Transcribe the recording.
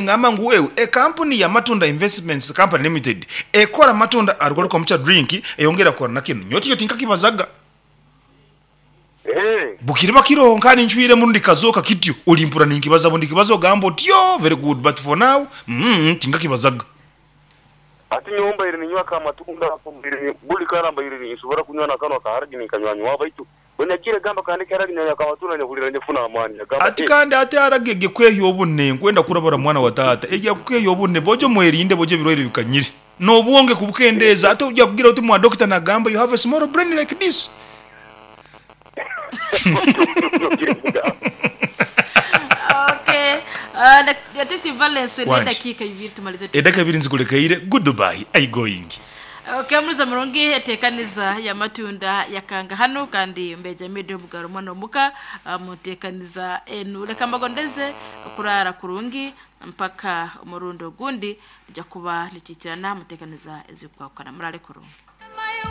Ngamba ngu wewe ekampuni ya Matunda Investments Company Limited ekora amatunda arugaruka omu drink eyongera kukora na kinu. Nyowe tikyo tinkakibazaga. Bukiriba kiroho nka ninchwiremu rundi kikazooka kityo olimpurra ninkibaza bundikibaza ogamba oti yoo very good but for now mm tinkakibazaga. Hati nyowe mbaire ninywa ak'amatunda ako mbaire buli kara mbaire ninsobora kunywa n'akanwa ka haragi ninkanywanywaho baitu bwe nagiire gamba kandeke haragi nanywa ak'amatunda nyehurira nyefuna amaani nyagamba Ati eh. kandi ate haragi egyo ekwehya obune nkwenda kurabura mwana wa taata egyo akukehya obune bojo mwerinde bojo ebirwaire bikanyire nobwonge kubukendeeza ate oja kugira oti mwa doctor nagamba you have a small brain like this. Okay. Detective Valens Wangi. n'edakiika ibiri tumalize. Edaka ibiri nzikulekeire goodbye I going. Okay, muliza murungi etekaniza ya matunda yakanga hano kandi mbeja mede omugaro mwana omuka mutekaniza enu leka mbagondeze kurara kurungi mpaka omurundi ogundi tujja kuba nitwikirana mutekaniza ezikwakana murale kurungi.